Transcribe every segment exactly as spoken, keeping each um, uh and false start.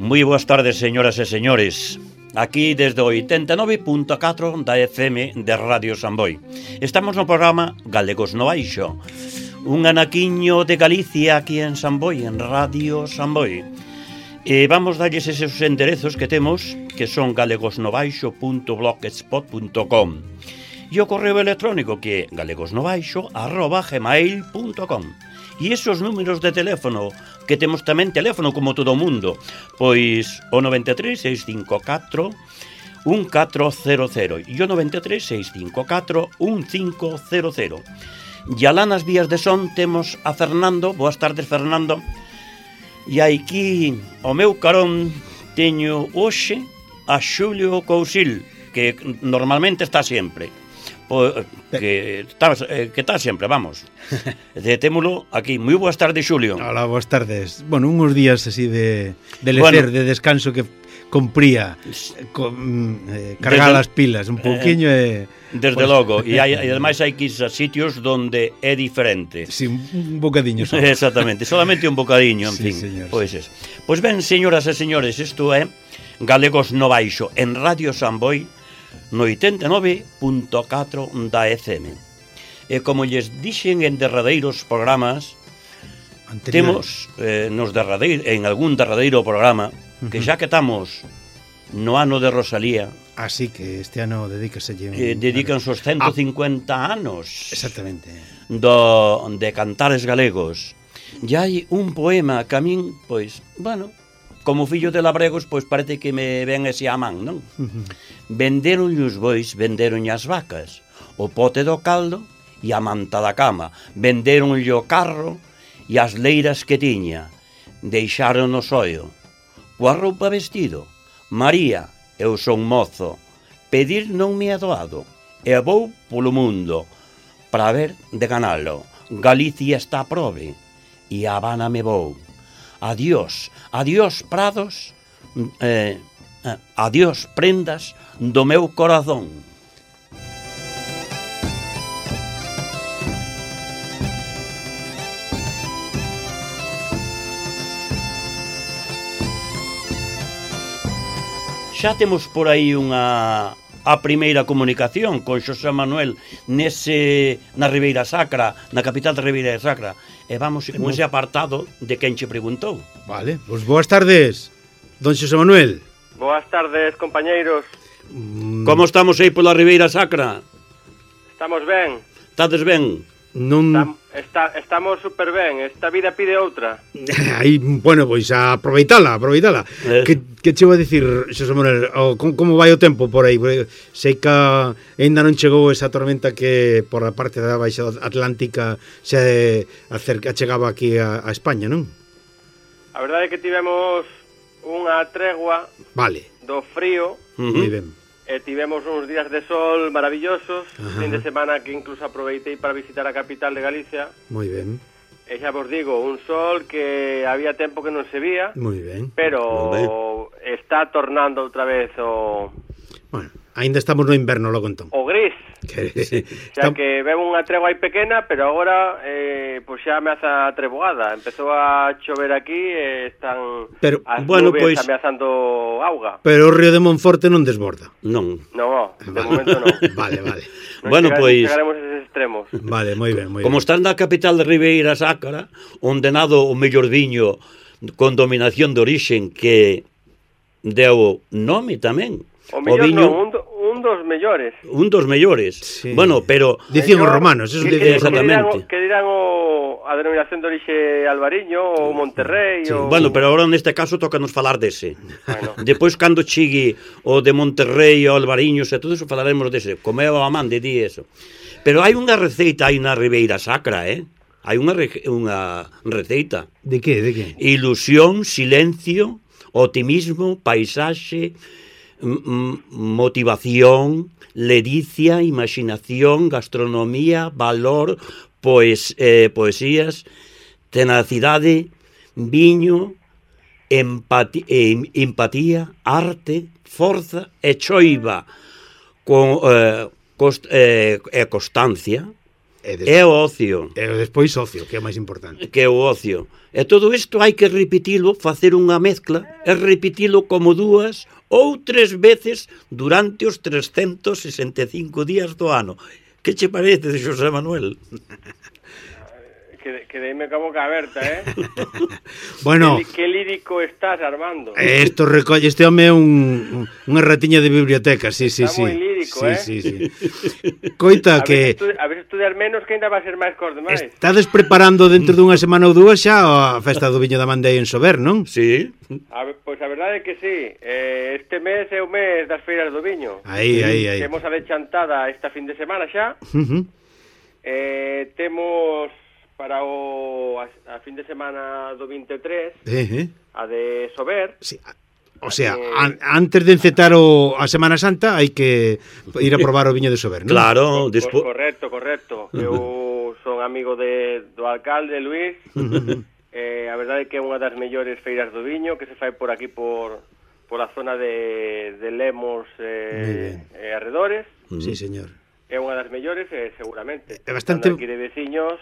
Moi boas tardes, señoras e señores. Aquí desde o oitenta e nove punto catro da F M de Radio Samboy. Estamos no programa Galegos no Baixo, un anaquiño de Galicia aquí en Samboy, en Radio Samboy. E vamos darlles eses enderezos que temos, que son galegosnobaixo punto blogspot punto com, e o correo electrónico que é galegosnobaixo arroba gmail punto com. E esos números de teléfono, que temos tamén teléfono como todo o mundo, pois o noventa e tres, seiscentos cincuenta e catro, un catro cero cero e o noventa e tres, seiscentos cincuenta e catro, un cinco cero cero. E alá nas vías de son temos a Fernando. Boas tardes, Fernando. E aquí o meu carón teño hoxe a Xulio Cousil, que normalmente está sempre. O, que está, que está sempre, vamos. Detémolo aquí. Moi boas tardes, Xulio. Hola, boas tardes. Bueno, uns días así de, de lecer, bueno, de descanso que compría con, eh, cargar desde, as pilas un pouquiño e... Eh, desde pues, logo, e, hai, e ademais hai que ir a sitios donde é diferente. Sí, un bocadiño só. Exactamente, solamente un bocadiño, en sí, fin. Señor, pois sí. es. Pois ben, señoras e señores, isto é Galegos no Baixo en Radio Samboy no oitenta e nove punto catro da F M. E como lles dixen en derradeiros programas, temos eh, nos derradeiro, en algún derradeiro programa, que xa que estamos no ano de Rosalía, así que este ano dedícaselle un... eh, dedícanse os ciento cincuenta ah, anos. Exactamente. Do, de cantares galegos. E hai un poema que a min, pois, bueno, como fillo de labregos, pois parece que me ven ese a man, non? Venderon os bois, venderon as vacas, o pote do caldo e a manta da cama. Venderon o carro e as leiras que tiña. Deixaron o soio. Coa roupa vestido. María, eu son mozo. Pedir non me é doado. E vou polo mundo para ver de ganalo. Galicia está a prove e a Habana me vou. Adiós, adiós prados, eh, adiós prendas do meu corazón. Xa temos por aí unha a primeira comunicación con Xosé Manuel nese na Ribeira Sacra, na capital da Ribeira Sacra. E vamos con ese apartado de quen che preguntou. Vale, pois boas tardes, don Xosé Manuel. Boas tardes, compañeiros. Mm. Como estamos aí pola Ribeira Sacra? Estamos ben. Estades ben? Non... Estam, está, estamos super ben, esta vida pide outra. Aí, bueno, pois a aproveitala, aproveitala. Eh. Que, que che vou a dicir, Xosé Manuel, o, como, como vai o tempo por aí? Sei que ainda non chegou esa tormenta que por a parte da Baixa Atlántica se acerca, chegaba aquí a, a España, non? A verdade é que tivemos unha tregua, vale, do frío. Uh-huh. Moi ben. E tivemos uns días de sol maravillosos, uh-huh. Fin de semana que incluso aproveitei para visitar a capital de Galicia. Moi ben. E xa vos digo, un sol que había tempo que non se vía. Moi ben. Pero ben. Está tornando outra vez o... Bueno, ainda estamos no inverno, logo entón. O gris. Que, sí. Xa que veo unha tregua aí pequena, pero agora eh, pues xa ameaza a treboada. Empezou a chover aquí e están pero, as bueno, nubes pues, ameazando auga. Pero o río de Monforte non desborda. Non. Non, de momento non. Vale, vale. Non bueno, chegaremos, pois... chegaremos a eses extremos. Vale, moi ben, moi ben. Como estás na capital de Ribeira Sacra, onde nado o mellor viño con dominación de orixen que deu nome tamén. O mellor o viño... non, un, do, un dos mellores. Un dos mellores. Sí. Bueno, pero... Dicían os romanos, eso que, dicían. Exactamente. Que dirán, que dirán o, a denominación de orixe Albariño ou Monterrey. Sí. O... Bueno, pero agora neste caso tocanos falar dese. Bueno. Depois, cando chegue o de Monterrey, o Albariños e todo eso, falaremos dese. Como é o amán de di eso. Pero hai unha receita aí na Ribeira Sacra, eh? Hai unha, re... unha receita. De que, de que? Ilusión, silencio, optimismo, paisaxe, motivación, ledicia, imaginación, gastronomía, valor, poes, eh, poesías, tenacidade, viño, empatía, eh, empatía, arte, forza e choiva, con, eh, cost, eh, e constancia, E, des... é o ocio. E despois ocio, que é o máis importante. Que é o ocio. E todo isto hai que repetilo, facer unha mezcla, e repetilo como dúas ou tres veces durante os trescentos sesenta e cinco días do ano. Que che parece, Xosé Manuel? Que, que deime ca boca aberta, eh? Bueno, que, que lírico estás, Armando. Esto recolle, este home é un, unha ratiña de biblioteca, sí, sí, Está sí. moi lírico, sí, eh? sí, sí. Coita a que veces, a veces estudiar menos que ainda va a ser máis cos demais. estades preparando dentro dunha semana ou dúas xa a festa do viño da Mandei en Sober, non? Sí. A, pois a verdade é que sí. Eh, este mes é o mes das feiras do viño. Aí, aí, aí. Temos a de Chantada esta fin de semana xa. Uh -huh. Eh, temos para o a, a fin de semana do vinte e tres Uh -huh. a de Sober. Sí. O sea, an, antes de encetar o, a Semana Santa hai que ir a probar o viño de Sober, non? Claro, Pois despois... correcto, correcto. Eu son amigo de, do alcalde, Luís. eh, a verdade é que é unha das mellores feiras do viño que se fai por aquí, por, por a zona de, de Lemos eh, e arredores. Sí, señor. É unha das mellores, eh, seguramente. É bastante... Estando aquí de veciños,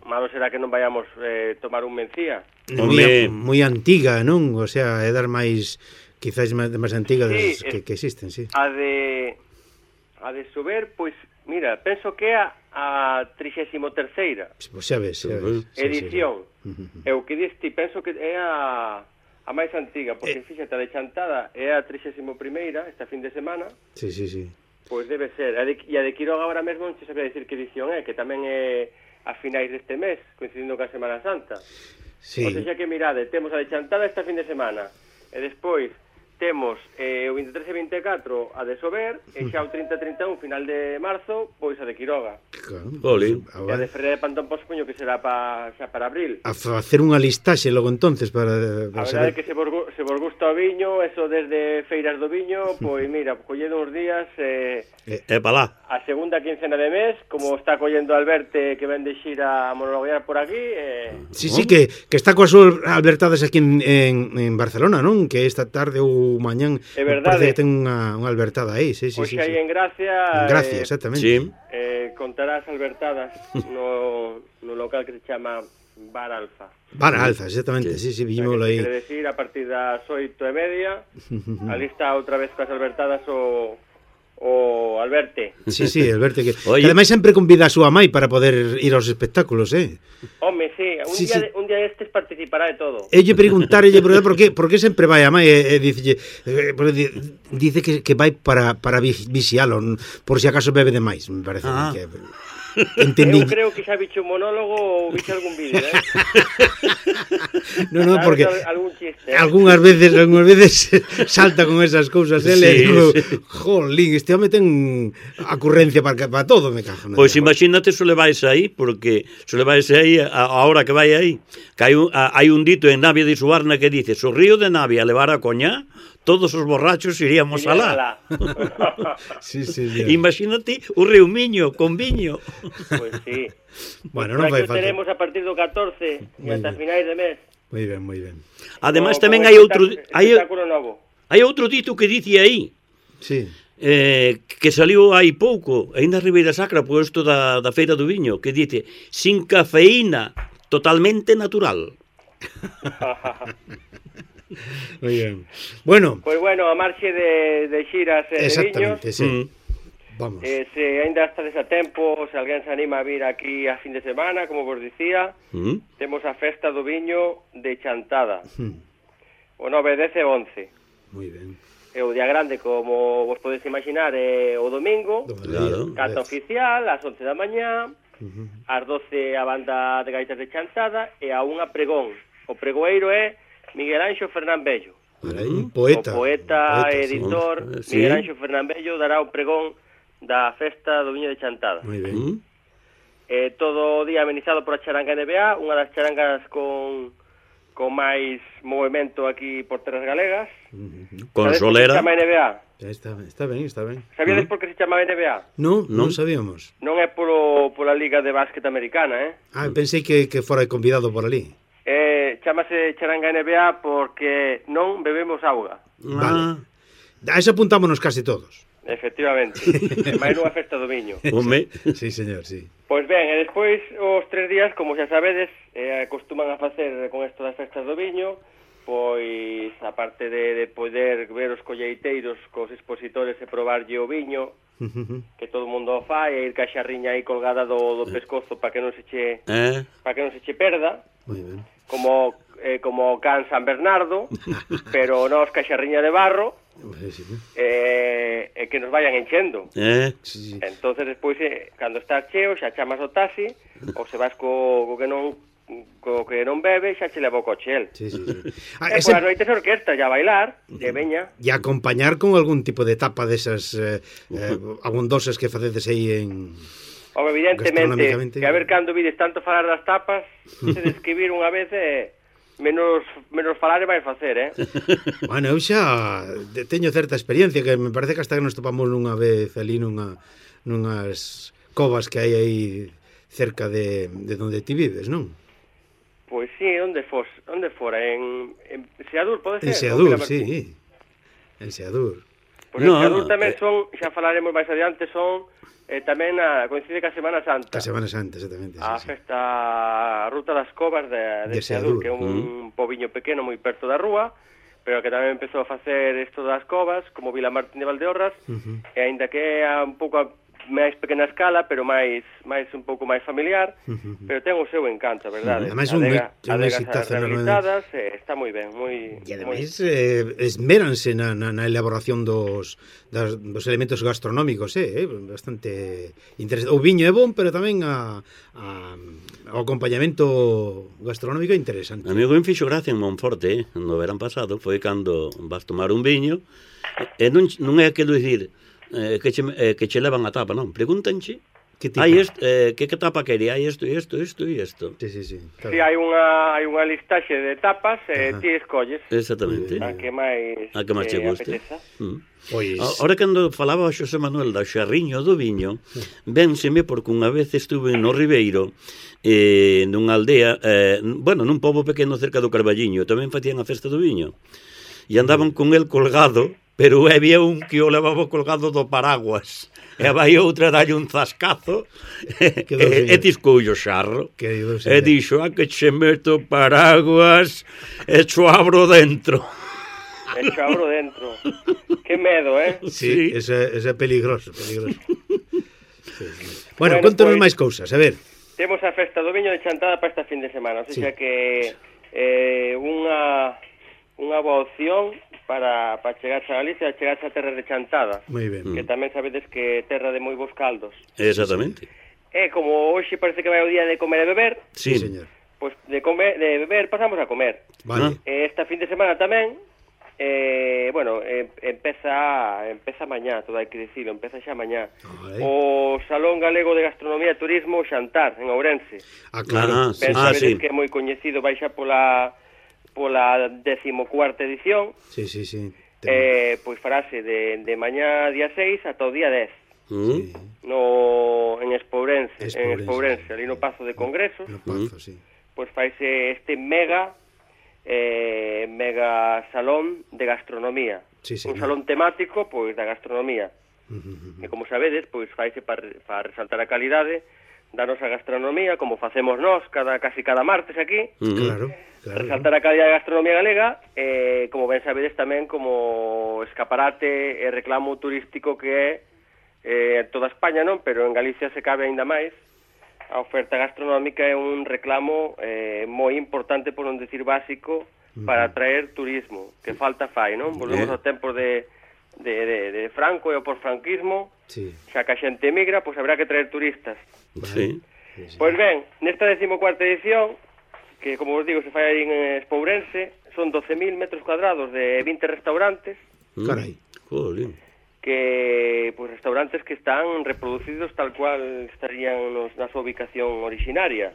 malo será que non vayamos eh, tomar un mencía. Moi, moi antiga, non? O sea, é dar máis, quizás máis, máis antiga das sí, que, que existen, sí. A de a de Sober, pois, mira, penso que é a, a trixésimo terceira Pois xa ves, xa ves. edición. Sí, sí. E o que diste, penso que é a a máis antiga, porque eh. fíxate, a de Chantada é a trixésimo primeira esta fin de semana. Sí, sí, sí. Pois debe ser. A de, e a de Quiroga agora mesmo non se sabía dicir que edición é, que tamén é a finais deste mes, coincidindo ca Semana Santa. Sí. O sea que mirade, temos a de Chantada esta fin de semana, e despois temos eh, o vinte e tres e vinte e catro a de Sober, e xa o trinta e trinta e un final de marzo, pois a de Quiroga. Claro, Oli. E a de Ferreira de Pantón Pospuño, que será pa, xa para abril. A facer unha listaxe logo entonces para, para A verdade saber. é que se vos, se vos gusta o viño, eso desde feiras do viño, pois mira, collendo uns días, eh, É pa lá. a segunda quincena de mes, como está collendo Alberte, que ven de xira a monologuear por aquí, eh, Sí, sí, que, que está coas súas albertadas aquí en, en, en Barcelona, non? Que esta tarde ou mañán É verdade. parece que ten unha, unha albertada aí, sí, sí, pois sí, aí sí. en Gracia, En Gracia, eh, exactamente. Sí. eh, contarás albertadas no, no local que se chama Bar Alfa. Bar Alfa, exactamente, sí, sí, vimoslo aí. Quere decir, a partir das oito e media, ali está outra vez coas albertadas o, o Alberte. Sí, sí, Alberto, que, Oye. que ademais sempre convida a súa mai para poder ir aos espectáculos, eh? Home, sí, un, Sí, día, sí. De, un día destes participará de todo. Elle preguntarelle por, por, que, por que sempre vai a mai e, e dice, eh, dice que, que vai para, para vi- vixialo por si acaso bebe demais, me parece Ah. que entendí. Eu creo que xa bicho un monólogo ou bicho algún vídeo, eh? No, no, porque Sabes algún chiste, eh? algunhas veces, algunhas veces salta con esas cousas ele, Sí, sí, digo, sí. jolín, este home ten acurrencia para, para todo, me cago. Pois imagínate se levais aí, porque se levais aí a, a hora que vai aí, que hai un, a, hai un dito en Navia de Suarna que dice: "Se o río de Navia levara a coñá, todos os borrachos iríamos Iría alá." Sí, sí, sí. Imagínate o río Miño con viño. Pois sí. Bueno, Por non fai aquí o falta. teremos a partir do catorce e Moi hasta ben. finais de mes. Moi ben, moi ben. Ademais Como- tamén como hai outro espectáculo- hai, espectáculo novo. hai outro dito que dice aí, Sí. eh, que saliu hai pouco, aí na Ribeira Sacra, puesto da, da Feira do Viño, que dice: "Sin cafeína, totalmente natural." Moi ben. Bueno, Pois bueno, a marxe de, de xiras e de viños, exactamente, sí. Mm. Vamos. eh, se ainda estades a tempo, se alguén se anima a vir aquí a fin de semana, como vos dicía, Mm. temos a festa do viño de Chantada, Mm. o nove, dez e once. Moi ben. E o día grande, como vos podedes imaginar, é o domingo, Claro. cata oficial, ás once da mañá, ás doce a banda de gaitas de Chantada, e a unha pregón. O pregoeiro é Miguel Anxo Fernán Bello. Vale, un poeta. O poeta, un editor, sí. Miguel Anxo Fernán Bello dará o pregón da festa do viño de Chantada. Moi ben. Mm. Eh, todo o día amenizado por a charanga N B A, unha das charangas con, con máis movimento aquí por terras galegas. Con Sabedes por que se solera. chama N B A? Está, está ben, está ben. Sabíades por que se chama N B A? No, non Non. sabíamos. Non é polo, pola Liga de Básquet Americana, eh? Ah, pensei que, que fora convidado por ali. eh chamase charanga N B A porque non bebemos auga. Vale. A esa apuntámonos casi todos. Efectivamente. E máis nunha festa do viño. Home. Sí, señor, sí. Pois ben, e despois os tres días, como xa sabedes, eh, acostuman a facer con isto das festas do viño, pois, aparte de, de poder ver os colleiteiros cos expositores e probarlle o viño, que todo o mundo o fai, e ir ca xarriña aí colgada do, do pescozo para que non se che Eh? para que non se che perda. Moi ben. Como eh, como can San Bernardo, pero nos ca xarriña de barro. Sí, sí. Eh, e que nos vayan enchendo. Eh? Sí, sí. Entonces despois, eh, cando estás cheo, xa chamas o taxi, ou se vas co, co que non co que non bebe, xa che leva o coche el. Sí, sí, sí. Ah, E ese... polas noites orquesta, ya a bailar, e veña. E acompañar con algún tipo de tapa desas eh, eh, abundosas que facedes aí en... Home, evidentemente, Gastronómicamente... que a ver cando vides tanto falar das tapas, se describir unha vez e menos menos falar e vai facer, eh? Bueno, eu xa teño certa experiencia, que me parece que hasta que nos topamos nunha vez ali nunha, nunhas covas que hai aí cerca de, de onde ti vives, non? Pois sí, onde fos, onde fora, en, en Seadur, pode ser? En Seadur, sí. En Seadur. Pois No, en Seadur tamén eh... son, xa falaremos máis adiante, son eh, tamén a, coincide ca Semana Santa. Ca Semana Santa, exactamente. A Sí, festa a Ruta das Covas de, de, De Seadur, Seadur, que é un mm. pobiño pequeno moi perto da rúa, pero que tamén empezou a facer isto das covas, como Vila Martín de Valdeorras, sí. Uh-huh. e aínda que é un pouco a máis pequena escala, pero máis máis un pouco máis familiar, Uh-huh. pero ten o seu encanto, a verdade. Uh-huh. Ademais, un Adega, un adegas exitazo rehabilitadas, eh, está moi ben, moi... E ademais eh, esméranse na, na, na elaboración dos, das, dos elementos gastronómicos, eh, eh, bastante interesante. O viño é bon, pero tamén a, a, o acompañamento gastronómico é interesante. A mí o que me fixo gracia en Monforte, eh, no verán pasado, foi cando vas tomar un viño, e non, non é aquilo dicir eh, que, che, eh, que che levan a tapa, non, pregúntanche Que tipo? hai est, eh, que, que tapa quería, hai isto, isto, isto e isto. Sí, sí, sí. Claro. Si hai unha hai unha listaxe de tapas e eh, ti escolles Exactamente. a que máis A que máis che guste. Mm. Pois... Ahora cando falaba o Xosé Manuel da xarriño do viño, vénseme porque unha vez estuve no Ribeiro, eh, nunha aldea, eh, bueno, nun pobo pequeno cerca do Carballiño, tamén facían a festa do viño. E andaban con el colgado, pero había un que o levaba colgado do paraguas. E vai outra dalle un zascazo e, e tiscoulle o xarro. E dixo, a que che meto paraguas e cho abro dentro. E cho abro dentro. Que medo, eh? Sí, sí. Ese, ese é peligroso, peligroso. Sí, sí. Bueno, bueno, contanos pues, máis cousas, a ver. Temos a festa do viño de Chantada para esta fin de semana, o sea sí. que eh, unha unha boa opción para, para chegar a Galicia, chegar a terra de Chantada. Moi ben. Que tamén sabedes que é terra de moi bons caldos. Exactamente. E como hoxe parece que vai o día de comer e beber, sí, sí señor. Pois pues de comer, de beber pasamos a comer. Vale. E esta fin de semana tamén, eh, bueno, eh, empeza empeza mañá, todo hai que dicilo, empeza xa mañá. Vale. O Salón Galego de Gastronomía e Turismo Xantar, en Ourense. Ah, claro. Ah, sí. Ah, sí. Que é moi coñecido, vai xa pola pola decimocuarta edición. Sí, sí, sí. Eh, pois farase de, de mañá día seis ata o día dez. Mm. Sí. No, en Espourense, Espourense, en Espourense, ali no Pazo de Congresos. No Pazo, sí. Pois faise este mega eh, mega salón de gastronomía. Sí, sí, un no. salón temático, pois, da gastronomía. Uh -huh. E como sabedes, pois faise para pa resaltar a calidade da nosa gastronomía, como facemos nós cada casi cada martes aquí. Uh -huh. Claro. Claro, resaltar a calidad da gastronomía galega, eh, como ben sabedes tamén como escaparate e reclamo turístico que é eh, toda España, non? Pero en Galicia se cabe aínda máis. A oferta gastronómica é un reclamo eh, moi importante, por non decir básico, para atraer turismo, que falta fai, non? Volvemos eh. ao tempo de, de, de, de Franco e ao porfranquismo, sí. xa que a xente emigra, pois habrá que traer turistas. Sí. Pois ben, nesta decimocuarta edición, que, como vos digo, se fai aí en Espourense, son doce mil metros cuadrados de vinte restaurantes. Carai. Jolín. Que, pues, restaurantes que están reproducidos tal cual estarían nos, na súa ubicación originaria.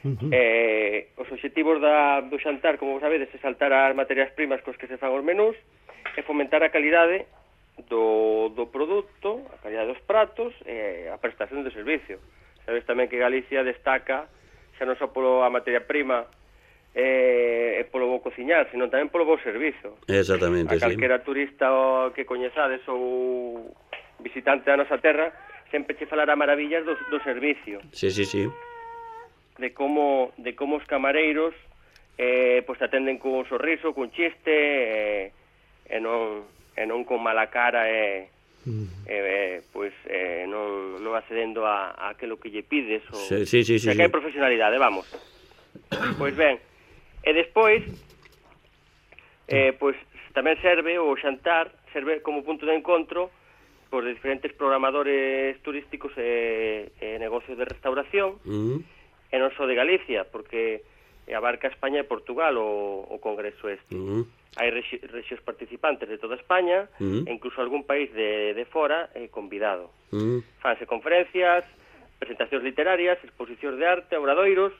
Uh -huh. eh, os obxectivos da, do xantar, como vos sabedes, é saltar as materias primas cos que se fan os menús e fomentar a calidade do, do produto, a calidade dos pratos e a prestación do servicio. Sabes tamén que Galicia destaca xa non só polo a materia prima eh, polo bo cociñar, senón tamén polo bo servizo. Exactamente, a calquera sí. turista que coñezades ou visitante da nosa terra sempre che falará maravillas do, do servicio. Sí, sí, sí. De como, de como os camareiros eh, pues te atenden con un sorriso, con chiste, eh, e non, e non con mala cara, e mm. eh, pues eh, non, non accedendo a, a aquilo que lle pides. O, sí, sí, sí, o sea, sí, que hai profesionalidade, vamos. Pois ben, e despois, eh, pues tamén serve o xantar, serve como punto de encontro por diferentes programadores turísticos e, e negocios de restauración, mm. e non só de Galicia, porque abarca España e Portugal o, o congreso este. Mm. Hai rexi, rexións participantes de toda España, mm. e incluso algún país de, de fora eh, convidado. Mm. Fanse conferencias, presentacións literarias, exposicións de arte, obradoiros,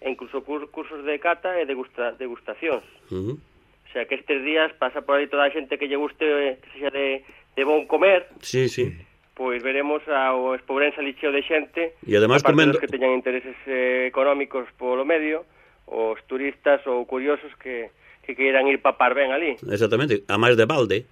e incluso cur, cursos de cata e degusta, degustacións. Mm. O sea, que estes días pasa por aí toda a xente que lle guste, eh, que sexa de de bon comer, sí, sí. pois veremos ao Espobrense licheo de xente, e además comendo... dos que teñan intereses eh, económicos polo medio, os turistas ou curiosos que, que queiran ir papar ben ali. Exactamente, a máis de balde.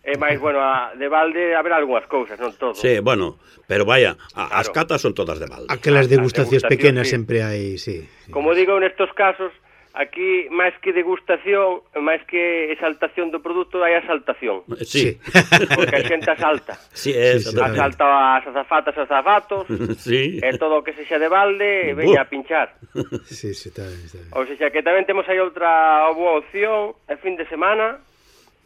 E máis, bueno, a, de balde haberá algunhas cousas, non todo. Sí, bueno, pero vaya, a, claro. As catas son todas de balde. Aquelas degustacións pequenas sí. sempre hai, sí, sí. Como digo, nestos casos, aquí, máis que degustación, máis que exaltación do produto, hai asaltación. Sí. Porque a xente asalta. Sí, es, asalta as azafatas e zapatos, sí. E todo o que sexa de balde, veña a pinchar. Sí, sí, está ben, está ben. Ou seja, que tamén temos aí outra boa opción, el fin de semana,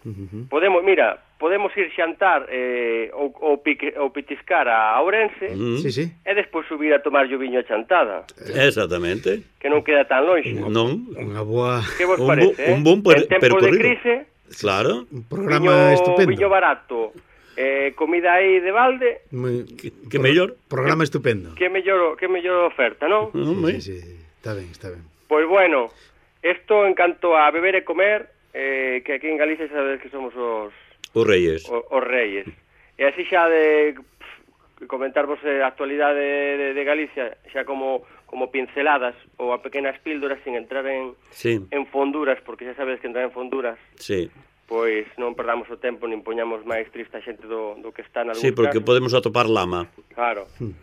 uh-huh. podemos, mira, podemos ir xantar eh, ou, ou, pique, ou pitiscar a Ourense, uh-huh. sí, sí. E despois subir a tomar o viño a chantada. Exactamente. Que non queda tan longe. Non. Unha boa... Que vos parece, un, eh? Un bon per, en tempo de crise, claro. Un programa viño, estupendo. Viño barato, eh, comida aí de balde. Muy, que, que mellor. Programa estupendo. Que mellor, que mellor oferta, non? Sí, sí, sí, está ben, está ben. Pois bueno, isto en canto a beber e comer, eh, que aquí en Galicia sabedes que somos os... Os reyes. Os, os reyes. E así xa de pff, comentarvos a actualidade de, de, de Galicia, xa como, como pinceladas ou a pequenas píldoras sin entrar en, sí. en fonduras, porque xa sabedes que entrar en fonduras, sí. pois non perdamos o tempo, nin poñamos máis triste a xente do, do que está na luz. Sí, porque casos. Podemos atopar lama. Claro. Hmm.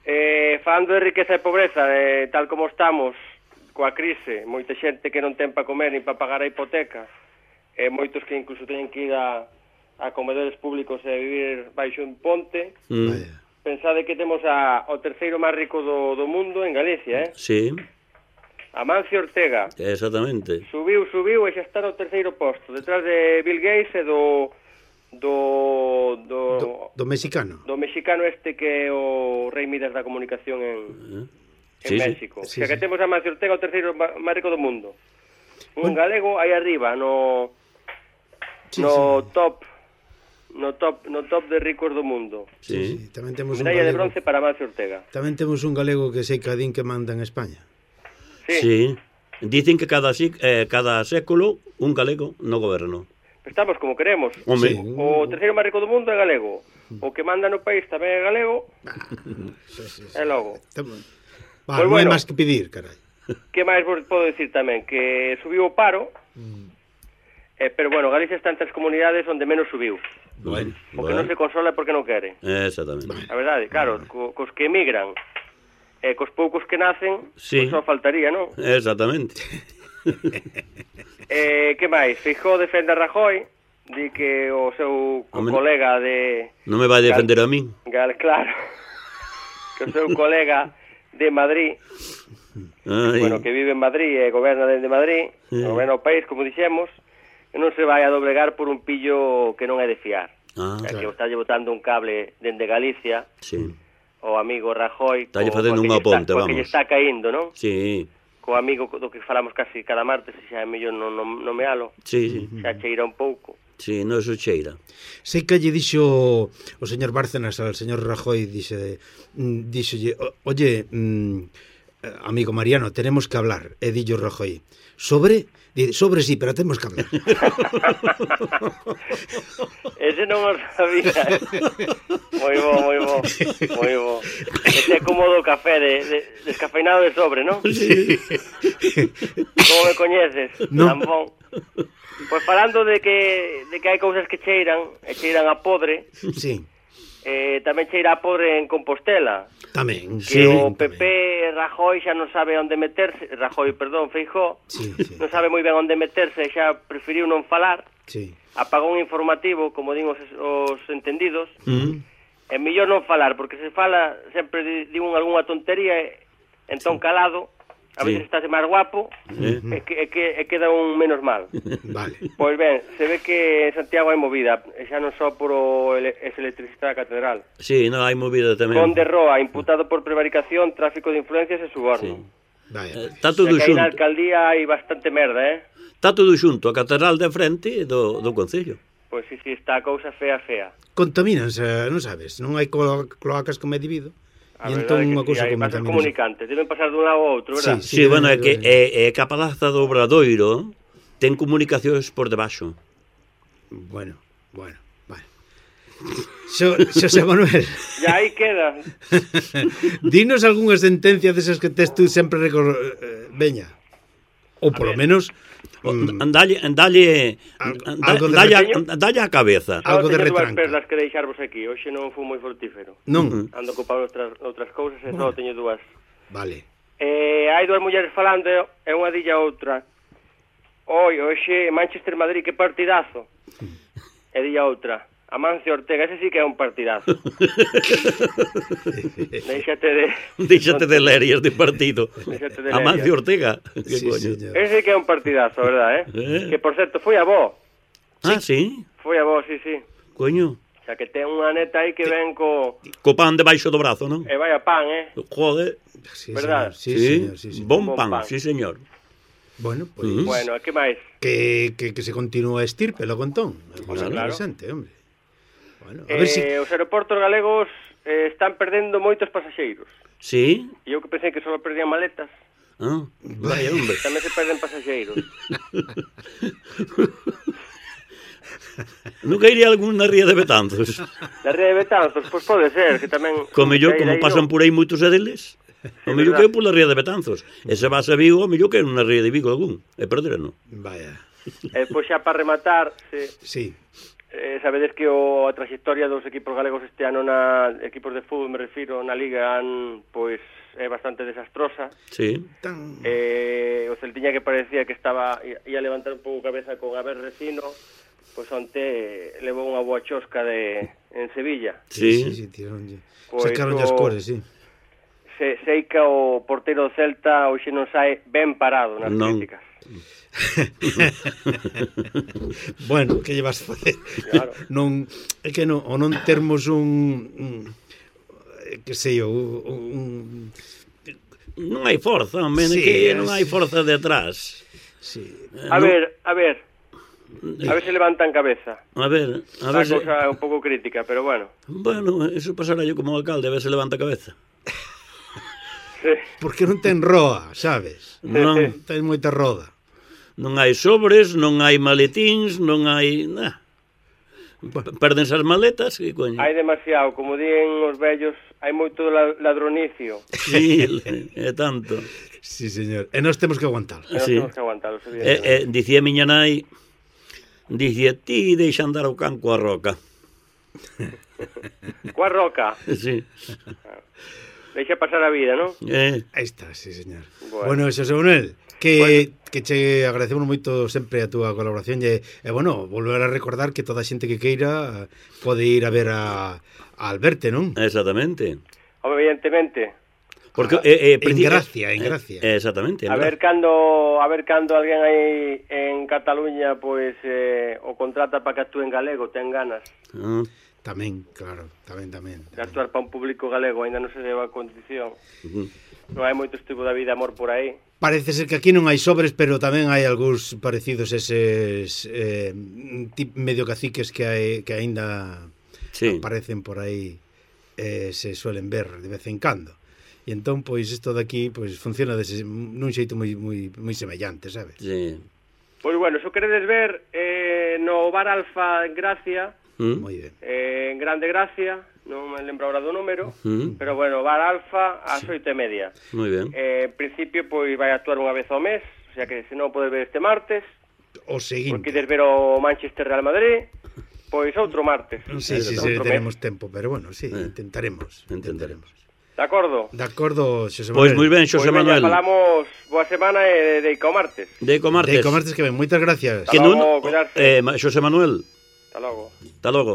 Eh, falando de riqueza e pobreza, eh, tal como estamos, coa crise, moita xente que non ten para comer nin para pagar a hipoteca, e moitos que incluso teñen que ir a a comedores públicos e vivir baixo un ponte. Mm. Pensade que temos a, o terceiro máis rico do, do mundo en Galicia, eh? Sí. Amancio Ortega. Exactamente. Subiu, subiu e xa está no terceiro posto, detrás de Bill Gates e do do do, do, do mexicano. Do mexicano este que é o rei Midas da comunicación en, uh-huh. en sí, México. Sí, xa sí, que sí. Temos a Amancio Ortega o terceiro máis rico do mundo. Un bueno. galego aí arriba no sí, no sí. top no top no top de ricos do mundo. Sí, sí. Tamén temos medalla un galego, de bronce para Amancio Ortega. Tamén temos un galego que sei cadín que manda en España. Sí. Sí. Dicen que cada eh, cada século un galego no goberno. Estamos como queremos. Sí. O terceiro máis rico do mundo é galego. O que manda no país tamén é galego. Sí, sí, sí. E logo. Va, pues non bueno, hai máis que pedir, carai. Que máis vos podo decir tamén? Que subiu o paro. Mm. Eh, pero bueno, Galicia está entre as comunidades onde menos subiu. Bueno, o que bueno. non se consola é porque non quere. Exactamente. A verdade, claro, co, cos que emigran, e eh, cos poucos que nacen, sí. Pues só faltaría, non? Exactamente. eh, que máis? Feijóo defende a Rajoy, di que o seu Hombre, colega de... Non me vai defender Gal, a min. Gal, claro. Que o seu colega de Madrid, Ay. bueno, que vive en Madrid e goberna dende Madrid, sí. goberna o país, como dixemos, e non se vai a doblegar por un pillo que non é de fiar. Ah, que claro. está botando un cable dende Galicia, sí. o amigo Rajoy, está lle facendo unha ponte, está, vamos. que lle está caíndo, non? Sí. Co amigo do que falamos casi cada martes, e xa é mellor non no, no mealo. Sí, sí. Xa cheira un pouco. Sí, non se cheira. Sei que lle dixo o señor Bárcenas ao señor Rajoy, dixe, díxolle, oye, mm, amigo Mariano, tenemos que hablar, e dillo Rajoy. Sobre, di, sobre sí, pero temos que hablar. Ese non o sabía. Moi bo, moi bo, moi bo. Ese é como do café, de, de, descafeinado de sobre, non? Sí. Como me coñeces, no. tan bon. Pois falando de que, de que hai cousas que cheiran, e cheiran a podre, sí. eh, tamén cheira a podre en Compostela. Tamén, que sí, o P P tamén. Rajoy xa non sabe onde meterse, Rajoy, perdón, Feijóo, sí, sí. non sabe moi ben onde meterse, xa preferiu non falar, sí. apagou un informativo, como din os, os entendidos, Mm. é mellor non falar, porque se fala sempre di, di un algunha tontería, e, entón calado, a Sí. veces estáse máis guapo, Eh. e, que, e, que, e queda un menos mal. Vale. Pois ben, se ve que en Santiago hai movida, e xa non só por o ele, ese electricista da catedral. Sí, non hai movida tamén. Conde Roa, imputado por prevaricación, tráfico de influencias e suborno. Sí. Vaya. Está O todo sea, que aí na xunto. alcaldía hai bastante merda, eh? Está todo xunto, a catedral de frente do, do concello. Pois si, si, está a cousa fea, fea. Contamínanse, non sabes, non hai clo cloacas como é debido. A E verdade entón é unha que cousa si, hai bases contamínase. comunicantes, deben pasar dun lado ao outro, verdad? Sí, Sí, bueno, é que é, é que a palaza do Obradoiro ten comunicacións por debaixo. Bueno, bueno, vale. Xo, Xosé Manuel, Ya aí queda. dinos algunha sentencia desas que tes tú sempre recor... eh, veña. Ou polo menos mm, Andalle, andalle, Algo- anda- algo de dalle, a, repeño? dalle a cabeza. Algo de Só teño dúas retranca. perlas que deixarvos aquí, hoxe non fui moi frutífero. non. Ando ocupado outras, outras cousas e só teño dúas. Vale. Eh, hai dúas mulleres falando e unha dilla a outra. Oi, hoxe Manchester Madrid, que partidazo. E dilla a outra. Amancio Ortega, ese sí que é un partidazo. Déixate de... Díxate de lerias de partido. Déxate de Amancio lerias. Ortega. Que Sí, coño. señor. Ese sí que é un partidazo, verdad, eh? Eh. Que, por certo, foi a vó. Ah, sí? Foi a vó, sí, sí. Coño. O sea, que ten unha neta aí que ven co... Co pan debaixo do brazo, non? E vai a pan, eh? Joder. Sí, ¿Verdad? señor. Sí, señor, sí, señor. Bon Bon pan, pan. sí, señor. Bueno, pois Mm. Bueno, e que máis? que, que, que se continúa a estirpe logo entón. É Claro. interesante, hombre. Bueno, a Eh, ver si Os aeroportos galegos eh, están perdendo moitos pasaxeiros. Sí? E eu que pensei que só perdían maletas. Ah, vaya, hombre. Tamén se perden pasaxeiros. Nunca iría algún na ría de Betanzos. Da Ría de Betanzos, pois pode ser, que tamén... Co mellor, que aí- como aí pasan non. por aí moitos deles, o mellor verdad. que é pola ría de Betanzos. E se vas a Vigo, o mellor que é unha ría de Vigo algún. E perderano. vaya. E pois xa para rematar, se, Sí. eh, sabedes que o, a trayectoria dos equipos galegos este ano na equipos de fútbol, me refiro, na Liga, han, pois é bastante desastrosa. Sí. Tan Eh, o Celtiña que parecía que estaba ia levantar un pouco cabeza con Abel Recino, pois onte levou unha boa chosca de en Sevilla. sí, Sí. sí, tironlle. Pois Sacaron o- as cores, sí. Se, sei que o porteiro do Celta hoxe non sae ben parado nas Non. críticas. Bueno, que llevas a facer? Claro. Non, é que non, ou non termos un, un eh, que sei eu, un, Non hai forza, men, Sí, que es- non hai forza detrás. sí. A ver, a ver. A ver se levantan cabeza. A ver, a A ver se... cousa é un pouco crítica, pero bueno. Bueno, eso pasará yo como alcalde, a ver se levanta a cabeza. Sí. Porque non ten roa, sabes? Non, Ten moita roda. non hai sobres, non hai maletíns, non hai... Nah. P- Perdense as maletas, que coño. Hai demasiado, como din os vellos, hai moito la- ladronicio. Sí, é tanto. Sí, señor. E nós temos que aguantar. E nós Sí. temos que aguantalos, E, evidentemente. e, dicía miña nai, dicía, ti deixa andar o can coa roca. Coa roca, Sí. deixa pasar a vida, non? Eh, Aí está, sí, señor. Bueno. Bueno, Xosé Manuel, que, que che agradecemos moito sempre a túa colaboración e, e bueno, volver a recordar que toda a xente que queira eh, pode ir a ver a, a Alberte, non? exactamente. Home, evidentemente. Porque, Ah, eh, eh, en preci- Gracia, en eh, Gracia. eh, exactamente. A verdad. ver cando a ver cando alguén aí en Cataluña pois eh, o contrata para que actúe en galego, ten ganas Ah, Tamén, claro, tamén, tamén. de actuar para un público galego, aínda non se deu a condición. ujú. Non hai moito tipo da vida amor por aí. Parece ser que aquí non hai sobres, pero tamén hai algúns parecidos eses eh, tip, medio caciques que hai, que aínda Sí. aparecen por aí, eh, se suelen ver de vez en cando. E entón, pois, isto daqui pois funciona dese, nun xeito moi, moi, moi semellante, sabes? Sí. Pois bueno, se o queredes ver eh, no Bar Alfa en Gracia, Mm. Moi ben. eh, en Grande Gracia, non me lembro ahora do número, Mm. pero bueno, Bar Alfa ás oito e media. Moi ben. Eh, en principio, pois vai a actuar unha vez ao mes, o sea que se non podes ver este martes, O porque seguinte. queres ver o Manchester Real Madrid, pois outro martes. Sí, sí, sí, Outro mes. tenemos tempo, pero bueno, sí, Eh. intentaremos. Intentaremos. De acordo? De acordo, Xosé Pois Manuel. moi ben, Pois Xosé veña, Manuel. falamos boa semana e de o martes. Deico martes. Deico martes que ven, moitas gracias. Que Hasta non, logo, cuidarse. eh, Ma- Xosé Manuel, Hasta logo. hasta logo.